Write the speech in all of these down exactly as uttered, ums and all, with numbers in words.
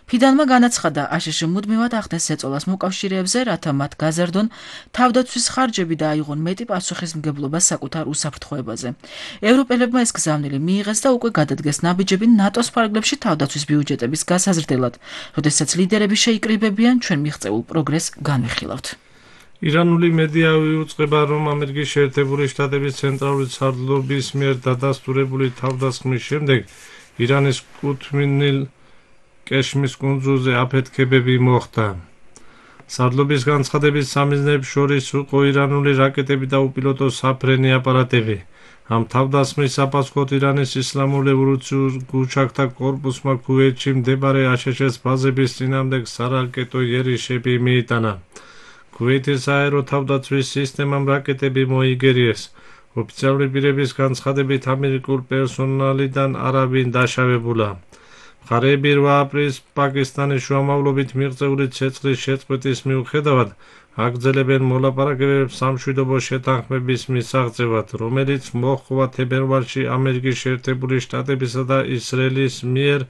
ფიდანმა განაცხადა, აშშ მუდმივად ახდენს ეწოლას მოკავშირეებზე, რათა მათ გაზარდონ თავდაცვის ხარჯები და აიღონ მეტი პასუხისმგებლობა საკუთარ უსაფრთხოებაზე. ევროპელებმა ეს გზავნილი მიიღეს და უკვე გადადგეს ნაბიჯები ნატოს ფარგლებში თავდაცვის ბიუჯეტების გასაზრდელად, როდესაც ლიდერები შეიკრიბებიან, ჩვენ მიღწეულ პროგრესს განვიხილავთ. ირანული მედია იუწყება, რომ ამერიკის შეერთებული შტატების ცენტრალური სარდლობის მიერ დადასტურებული თავდასხმის შემდეგ ირანის კუთვნილ კეშმის კუნძულზე აფეთქებები მოხდა. სარდლობის განცხადების სამიზნეებს შორის იყო ირანული რაკეტები და უპილოტო საფრენი აპარატები. ამ თავდასხმის საფასქოთ ირანის ისლამურ რევოლუციურ გულჩაქთა კორპუსმა ქუვეითში მდებარე აშშ-ის ბაზების წინააღმდეგ სარაკეტო იერიშები მიიტანა. ქუვეითის სააერო თავდაცვის სისტემამ რაკეტები მოიგერიეს. ოფიციალური პირების განცხადებით ამერიკულ პერსონალიდან არავინ დაშავებულა. მხარეები რვა აპრილს პაკისტანის შუამავლობით მიღწეული ცეცხლის შეწყვეტის მიუხედავად აგრძელებენ მოლაპარაკებებს სამშვიდობო შეთანხმების მისაღწევად, რომელიც მოჰყვა თებერვალში ამერიკის შეერთებული შტატებისა და ისრაელის მიერ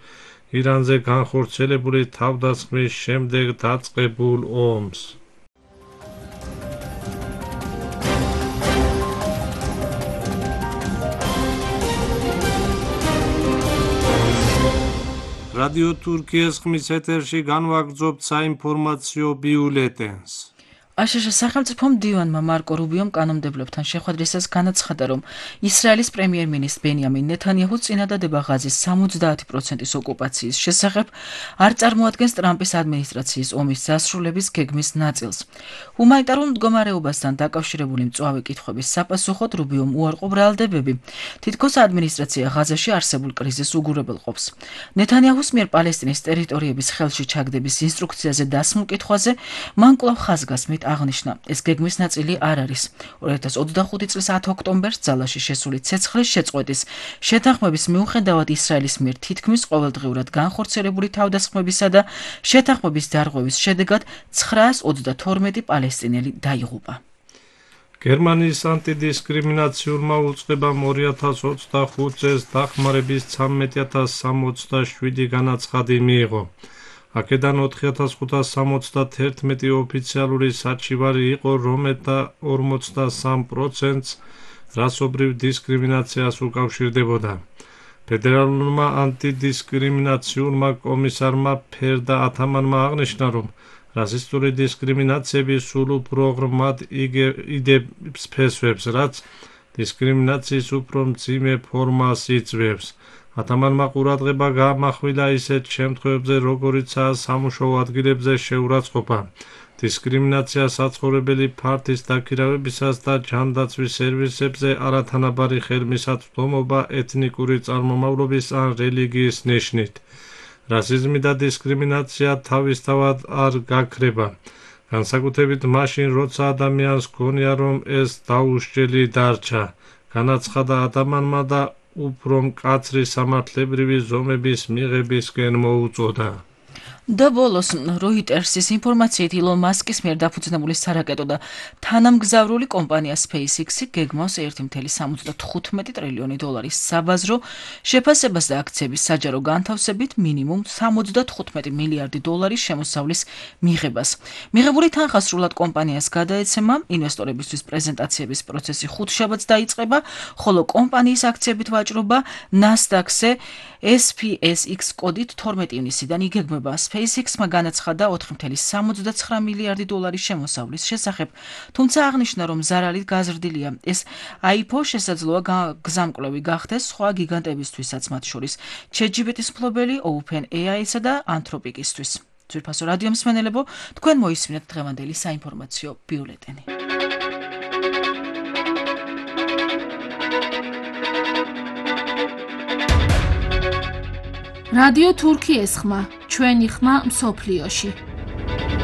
ირანზე განხორციელებული თავდასხმის შემდეგ დაწყებულ ომს. რადიო თურქიის ხმის ეთერში განვაგრძობთ საინფორმაციო ბიულეტენს. აშშ სახელმწიფომ დივანმა მარკო რუბიომ კანონმდებლობთან შეხვედრისას განაცხადა, რომ ისრაელის პრემიერ-მინისტრ ბენიამინ ნეთანიაჰუს წინადადება ღაზის სამოცდაათი პროცენტის ოკუპაციის შესახებ არ წარმოადგენს ტრამპის ადმინისტრაციის ომის დასრულების გეგმის ნაწილს. ჰუმანიტარულ მდგომარეობასთან დაკავშირებული მწვავე კითხვების საპასუხოდ რუბიომ უარყო ბრალდებები, თითქოს ადმინისტრაცია ღაზაში არსებულ კრიზისს უგურებელყოფს. ნეთანიაჰუს მიერ პალესტინის ტერიტორიების ხელში ჩაგდების ინსტრუქციაზე დასმულ კითხვაზე მან კვლავ ხაზგასმით აღნიშნა, ეს გეგმის ნაწილი არ არის. ორი ათას ოცდახუთი წლის ათი ოქტომბერს ძალაში შესული ცეცხლის შეწყვეტის შეთანხმების მიუხედავად ისრაელის მიერ თითქმის ყოველდღიურად განხორციელებული თავდასხმებისა და შეთანხმების დარღვევის შედეგად ცხრაას ოცდათორმეტი პალესტინელი დაიღუპა. გერმანიის ანტიდისკრიმინაციულმა უწყებამ ორი ათას ოცდახუთ წელს დახმარების ცამეტი ათას სამოცდაშვიდი განაცხადი მიიღო. აქედან ოთხი ათას ხუთას სამოცდათერთმეტი ოფიციალური საჩივარი იყო, რომელთა ორმოცდასამ პროცენტს რასობრივ დისკრიმინაციას უკავშირდებოდა. ფედერალურმა ანტიდისკრიმინაციულმა კომისარმა ფერდა ათამანმა აღნიშნა, რომ რასისტული დისკრიმინაციები სულ უფრო ღრმად იდებს ფესვებს, რაც დისკრიმინაციის უფრო მძიმე ფორმას იწვევს. ათამანმა ყურადღება გაამახვილა ისეთ შემთხვევებზე, როგორიცაა სამუშაო ადგილებზე შეურაცხყოფა, დისკრიმინაცია საცხოვრებელი ფართის დაქირავებისას და ჯანდაცვის სერვისებზე არათანაბარი ხელმისაწვდომობა ეთნიკური წარმომავლობის ან რელიგიის ნიშნით. რასიზმი და დისკრიმინაცია თავისთავად არ გაქრება, განსაკუთრებით მაშინ, როცა ადამიანს გონია, რომ ეს დაუსჯელი დარჩა, განაცხადა ათამანმა და უფრო მკაცრი სამართლებრივი ზომების მიღებისკენ მოუწოდა. და ბოლოს როიტერსის ინფორმაციით ილონ მასკის მიერ დაფუძნებული სარაკეტო და თანამგზავრული კომპანია SpaceX-ი გეგმავს ერთი წუთი სამოცდათხუთმეტი ტრილიონი დოლარის საბაზრო შეფასებას და აქციების საჯარო განთავსებით მინიმუმ სამოცდათხუთმეტი მილიარდი დოლარის შემოსავლის მიღებას. მიღებული თანხა სრულად კომპანიას გადაეცემა, ინვესტორებისთვის პრეზენტაციების პროცესი ხუთშაბათს დაიწყება, ხოლო კომპანიის აქციებით ვაჭრობა NASDAQ-ზე S P S X კოდით თორმეტი ივნისიდან იგეგმება. SpaceX-მა განაცხადა ოთხი წუთი სამოცდაცხრა მილიარდი დოლარის შემოსავლის შესახებ, თუმცა აღნიშნა, რომ ზარალი გაზრდილია. ეს I P O შესაძლოა გზამკვლევი გახდეს სხვა გიგანტებისთვისაც, მათ შორის ChatGPT-ის მფლობელი OpenAI-სა და Anthropic-ისთვის. ძვირფასო რადიო მსმენელებო, თქვენ მოისმინეთ დღევანდელი საინფორმაციო ბიულეტენი. რადიო თურქიის ხმა, ჩვენი ხმა მსოფლიოში.